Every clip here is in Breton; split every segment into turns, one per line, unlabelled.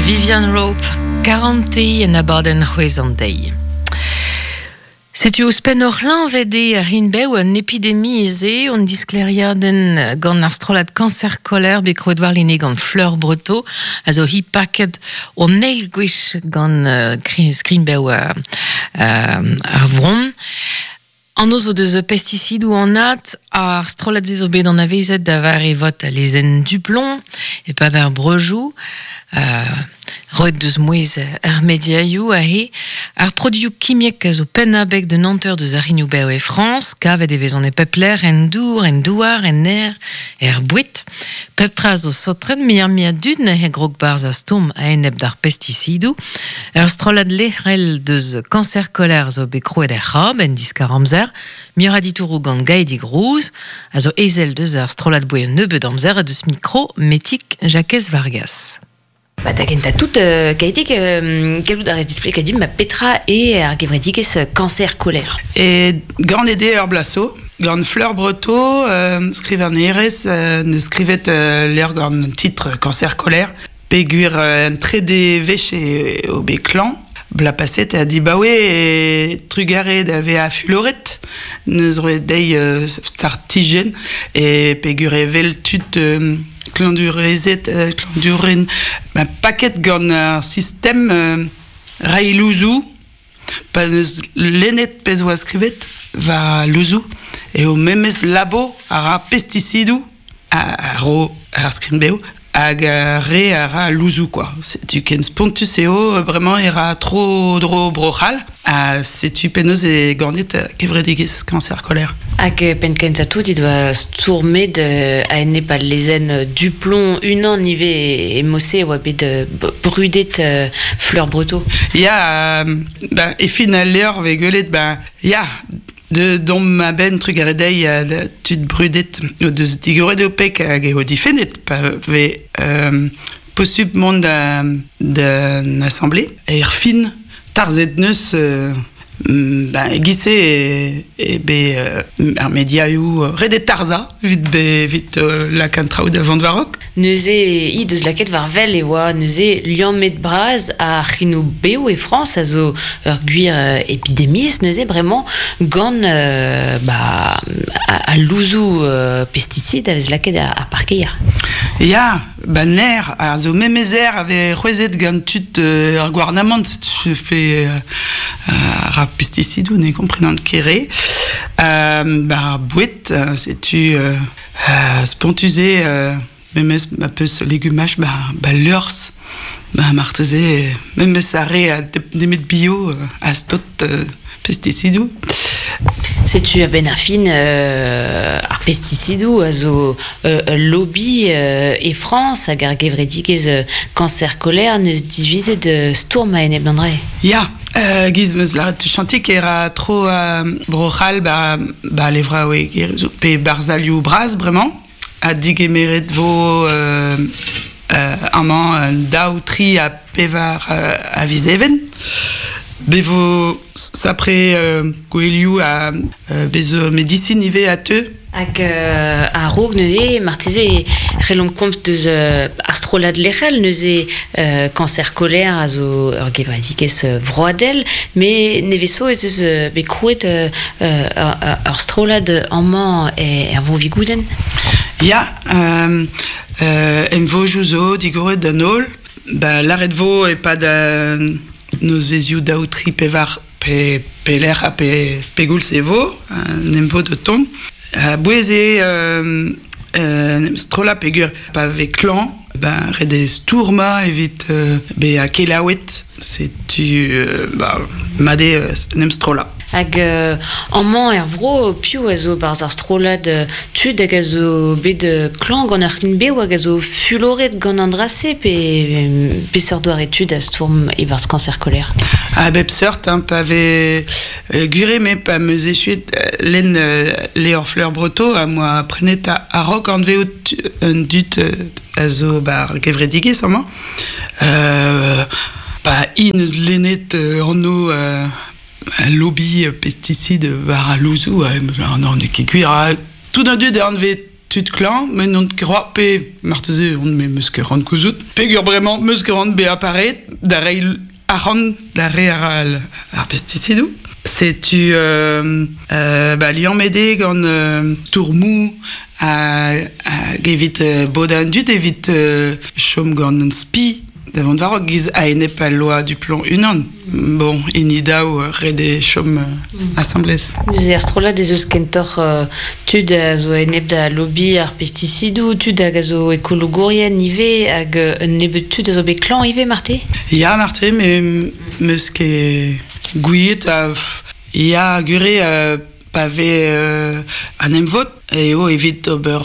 Vivian Rope, Karante en abadenn c'hwezh an deiz. Setu ouzhpenn ur c'hleñved eo ar rin-bev un epidemiezh eo an disklêriadenn gant ar strollad Cancer Colère bet krouet warlene gant Fleur Breteau a zo hi paket an eil gwech gant skrin-bev ar vronn. Anv zo deus pestisidoù anat ar strollad-se zo bet anavezet da vare vot al lezenn Duplomb e-pad ar breujoù. Roet deus mouezh ar mediaioù aze. Ar produioù kimiek a zo penn-abeg d'un hanter deus ar c'hignoù-bev e Frañs. Kavet e vezont e pep lec'h, en dour, en douar, en aer, er boued. Pep tra zo saotret, muioc'h-mui a dud neuze grog 'barzh ar stourm a-enep d'ar pestisidoù. Ur strollad lec'hel deus Cancer Colère zo bet krouet er C'hab en diskar-amzer. Muioc'h a ditouroù gant Gaedig Rouz, a zo ezel deus ar strollad boe un nebeud amzer ha deus mikro Metig Jakez Vargas.
Ba da gentañ tout, Gaedig, gallout a rez displegañ dimp petra eo ar gevredigezh Cancer Colère?
E ganet eo ur bloaz zo, gant Fleur Breteau, skrivagnerez, neus skrivet levr gant an titr Cancer Colère. Peogwir un trede wech eo bet klañv, bloaz paset ha dibaoe e trugarez da vezañ fuloret, neus roet dezhi startijenn e peogwir evel tud klañvdurezed, klañvdouren paket gant ar sistem reiñ louzoù pa neus lennet pezh oa skrivet war louzoù eo memes labo a ra pestisidoù a ro ar skrin-bev hag ar re a ra louzoù kwa. Setu ken spontus eo bremañ e ra tro-dro Bro-C'hall ha setu penaos eo ganet kevredigezh Cancer Colère.
Hag penn-kentañ tout he doa stourmet a-enep al lezenn Duplomb unan ivez e Mosse e oa bet brudet Fleur Breteau.
Ya, ben, e fin al levr vez gwelet ben, ya, De dont a-benn trugarez dezhi da tud brudet o deus digoret o peg hag eo difennet pa vez posupl mont da d'an asamble. Er fin, tarzhet neus ben, e-giz-se eo bet ar mediaoù ret eo tarzhañ evit evit lakaat an traoù da vont war-raok.
Neuze he deus lakaet war wel e oa neuze liammet bras ar c'hinoù bev e Frañs a zo ur gwir epidemiezh neuze bremañ gant ba al louzoù pestisid a vez lakaet ar parkeier.
Ya, ba ner, a zo memes aer a vez c'hwezhet gant tud ar gouarnamant pe ar pestisidoù ne komprenan ket re. Ba boued, setu Spontus eo memes ma peus legumaj ba, ba liorzh ba marteze memes ar re a nemet bio a stot pestisidoù.
Setu a-benn ar fin ar pestisidoù a zo ul lobby e Frañs hag ar gevredigezh Cancer Colère neus divizet stourm a-enep d'an dra.
Ya, giz 'meus lâret tuchantik e ra tro Bro-C'hall ba, ba levraoueg pe barzhalioù bras bremañ ha digemeret vo amañ un daou, tri ha pevar a viz Even. Be vo sapre gouelioù ha bez zo medisin ivez a teu.
Hag a-raok neuze, marteze e c'hellomp komz deus ar strollad lec'hel neuze Cancer Colère a zo ur gevredigezh vroadel, met nevez zo ez eus bet krouet ur strollad amañ er Vro-Vigoudenn.
Ya, emvojoù zo digoret d'an holl. Ba lâret vo e-pad nozvezhioù daou, tri, pevar Pe pelec'h ha pe pegoulz e vo, en em vod o tont. A-bouez eo strollañ peogwir pa vez klañv, ben ret eo stourmañ evit bezañ kelaouet. Setu ba mat eo en em strollañ.
Hag amañ er vro, piv a zo 'barzh ar strollad tud hag a zo bet klañv gant ar c'hlin-bev hag a zo fuloret gant an dra-se pe peseurt doare tud a stourm e-barzh Cancer Colère?
A bep seurt, hein, pa vez gwir eo me pa 'm eus echuet lenn levr Fleur Breteau am boa prenet a-raok anvezout un dud a zo 'ba ar gevredigezh amañ. Pa int eus lennet anv lobby pesticide war al louzoù, n'eo ket gwir. Tout an dud e anvez tud klañv, met n'on ket c'hoazh pe marteze on me 'meus ket c'hoant gouzout peogwir bremañ 'meus ket c'hoant bezañ pareet da reiñ arc'hant d'ar re a ra ar pestisidoù. Setu ba liammet eo gant stourmoù hag evit bodañ an dud evit chom gant un spi da vont war-raok giz a-enep al loa du plomb unan. Bon, hini daou ret eo chom asambles.
Neuze er strollad ez eus kentoc'h tud a zo a-enep da lobby ar pestisidoù, tud hag a zo ekologourien ivez, hag un nebeud tud a zo bet klañv ivez marte?
Ya, marte, met 'meus ket gouiet ya, gwir eo pa vez an emvod eo evit ober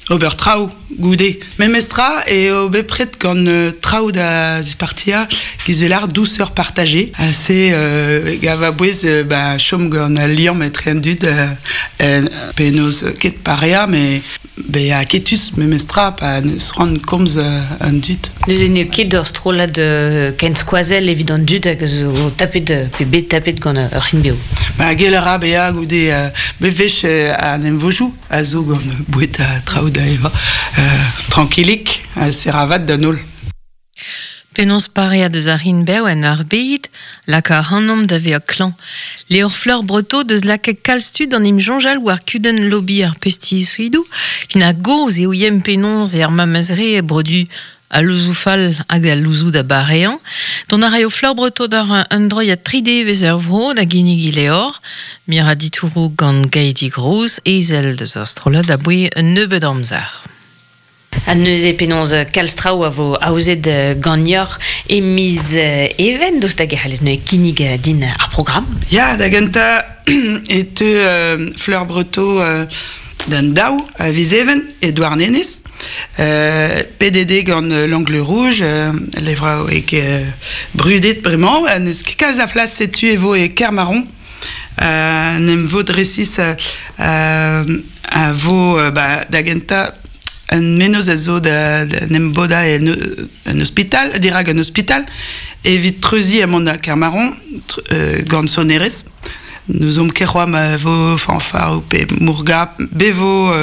ober traoù goude. Memestra eo bepred gant traoù da zispartiañ giz 'vel ar douceur partagée. Ha se gav a-bouez ba chom gant al liamm etre an dud penaos ket pareañ met Bezañ aketus memestra pa n'eus c'hoant komz an dud.
Neuze n'eo ket ur strollad kenskoazell evit an dud hag a zo tapet pe bet tapet gant ur c'hin-bev.
Ba gell a ra bezañ goude bep wech an emvojoù a zo gant boued ha traoù da evañ. Trankilik ha seravat d'an holl.
Penaos pareañ deus ar hin-bev en ur bed laka ac'hanomp da vezañ klañv. Levr Fleur Breteau deus lakaet kalz tud d'an em soñjal war kudenn lobby ar pestisidoù. Fin a-gozh eo yen penaos eo ar memes re e brodu al louzoù fall hag al louzoù da bareañ. Dont a raio Fleur Breteau d'ar un droiad tri devezh er vro da ginnig he levr. Mir a ditouroù gant Gaidi Gros, ezel deus ar strollad aboe un nebeud amzer.
Ha neuze penaos kalz traoù a vo aozet ganeoc'h e miz Even, daoust hag e c'hallez neuze kinnig din ar programm?
Ya, da gentañ e teu Fleur Breteau d'an daou a viz Even e Douarnenez. Pedet eo gant L'Angle Rouge, levraoueg brudet bremañ. N'eus ket kalz a plas setu e vo e Kermaron. Un emvod resis a vo ba, da gentañ un mennozh a zo da en em bodañ en un ospital, dirak un ospital, evit treuziñ ha mont da Kermaron gant sonerezh. N'ouzomp ket c'hoazh ma vo fanfare pe mourgap, be vo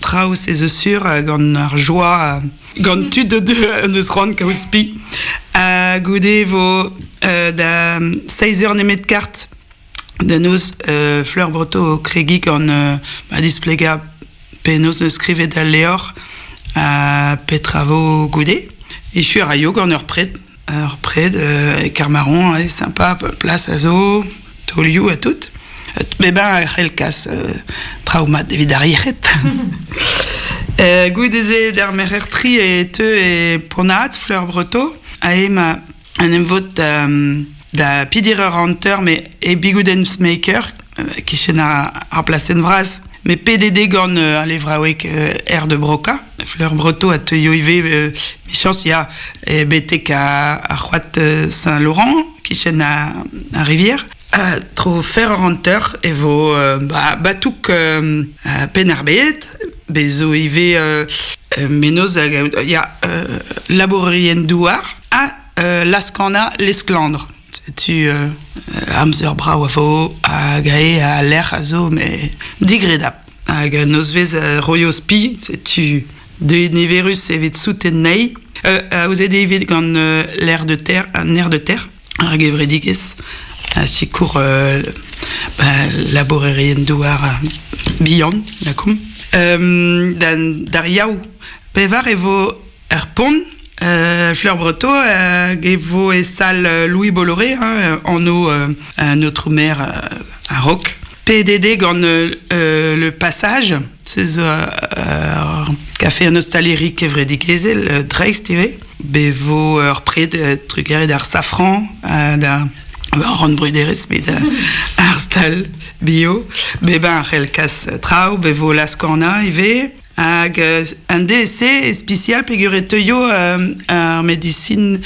traoù se zo sur gant ar joa gant tud deus c'hoant kaout spi. Ha goude e vo da seizh eur nemet kart da noz Fleur Breteau o kregiñ gant ma displegañ penaos neus skrivet al levr ha petra vo goude. Echu a raio gant ur pred, ur pred e Kermaron, eo sympa, plas a zo, taolioù ha tout. Bep a c'hell kas traoù mat evit ar yec'hed. Goude-se d'ar merc'her tri e teu e Pont-Aat, Fleur Breteau, ha ema en em vod da pidir ur hanter me e Bigoudens Maker, kichen ar plasenn vras. Me PDD gant al levraoueg Air de Broca. Fleur Breteau a teuio ivez michañs ya betek ar c'hoad Saint-Laurent, kichen ar rivière. Tro fer ur hanter e vo ba, batouk Penn-ar-Bed, bez zo ivez mennozh ya labourerien douar ha laz-kanañ Lesklandr. Setu amzer brav a vo hag ae al lec'h a zo met digredapl. Hag nozvezh roio spi, setu deuet niverus evit souten anezhi. Aozet eo evit gant l'air de terre, an air de terre. Ar gevredigezh a sikour ba, labourerien-douar bihan, lakaomp. D'ar Yaou pevar e vo er pont Fleur Breteau hag e vo e sal Louis Bolloré, hein, anv un autre maire a-raok. PDD gant Le Passage, se zo ur kafe an ostaleri kevredigezhel dreist ivez. Be vo ur pred trugarez d'ar safran da ran bruderezh met ar stal bio. Bebañ a c'hell kas traoù, be vo laz-kanañ ivez. Hag un DSC ispisial peogwir e teuio ar medisin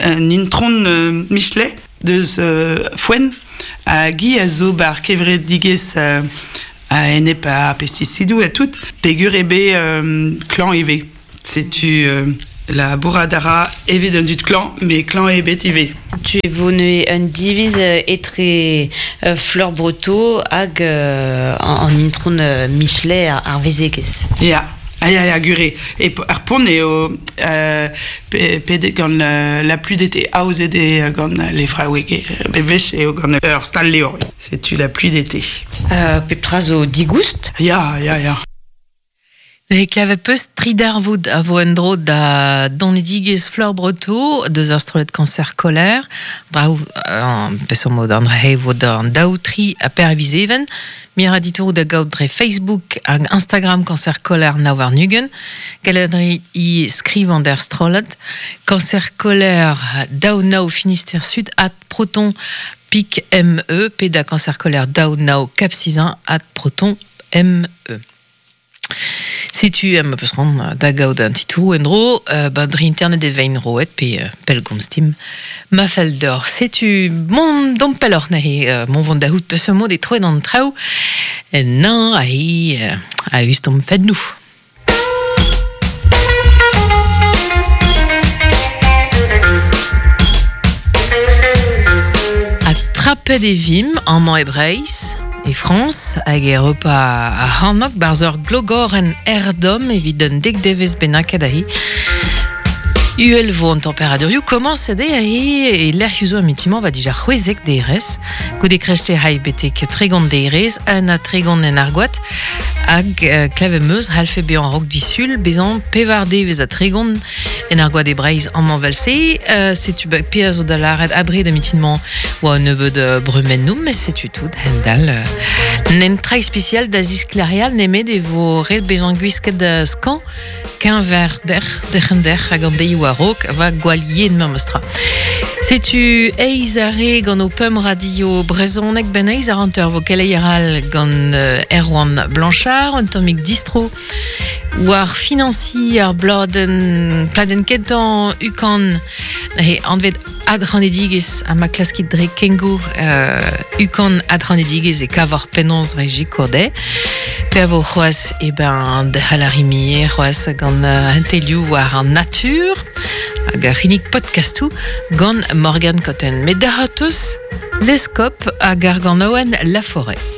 un intron Michelet deus Foenn hag hi a zo ba'r kevredigezh a-enep ar pestisidoù ha tout peogwir eo bet klañv ivez. Setu La bourradara evit un dud klan, me klan ebet ive.
Tu e vo neue un diviz etre Fleur Breto hag an intron Michelet ar vezegez.
Ya. Ah ya, ya, gure. E ar pont eo pedet gant la pluie d'été, aozet eo gant les fraoueg, bevech eo gant ur stal levr. Setu la pluie d'été.
Pep tra zo digoust?
Ya, ya, ya.
E klevet peus tridarvoud a vo en-dro da donedigezh Fleur Breto deus ar strollad Cancer Colère. Brav, peseurt mod an dra vo d'an daou tri ha per viz even. Mir a ditour da gaout dre Facebook hag Instagram Cancer Colère nav warn-ugent. Gallet a rit i skrivañ d'ar strollad. Cancer Colère daou nav Finistère Sud at proton pik me pe da Cancer Colère daou nav Cap Sizun at proton me. Setu ma peus c'hoant da gaout an titouroù en-dro, ba dre internet e vein roet pe pellgomz dimp ma fell deoc'h. Setu mont domp pelloc'h neuze, mont vont da c'hoût peseurt mod e troet an traoù ennañ aze a-us d'hom fennoù. Ha trapet e vimp amañ e Breizh, e Frañs hag e Europa ar c'hornôg barzh ur glogorenn aer-domm evit un dek devezh bennaket aze. Uhel vo an temperadurioù komañset eo aze e lec'hioù zo amitimant va dija 16 derez goude krechte hay betek 30 derez un ha 30 en argoat hag klevet 'm eus c'hallfe bezañ a-raok disul bezañ pevar devezh ha 30 en argoat e Breizh amañ 'vel-se setu pezh a zo da lâret abred amitimant oa un nebeud brumennoù met setu tout hend-all n'en tra ispisial da zisklêrial nemet e vo ret bezañ gwisket skañv keñver dec'h, derc'hen dec'h hag an deioù a-raok va gwall yen memes tra. Setu eizh a re gant ho pemp radio brezhoneg ben eizh a hanter vo keleier all gant Erwan Blanchard, un tammig distro war finañsiñ ar bladenn pladenn kentañ UCAN he anvet adc'hanedigezh ha ma klaskit dre Kengo UCAN adc'hanedigezh e kavoc'h penaos reiñ sikour dezhe. Pe a vo c'hoazh e ben derc'hel ar rimier c'hoazh gant hentelioù war an natur hag ar c'hinnig podcastoù gant Morgan Cotten. Met da c'hortoz Leskop hag ar ganaouenn La Forêt.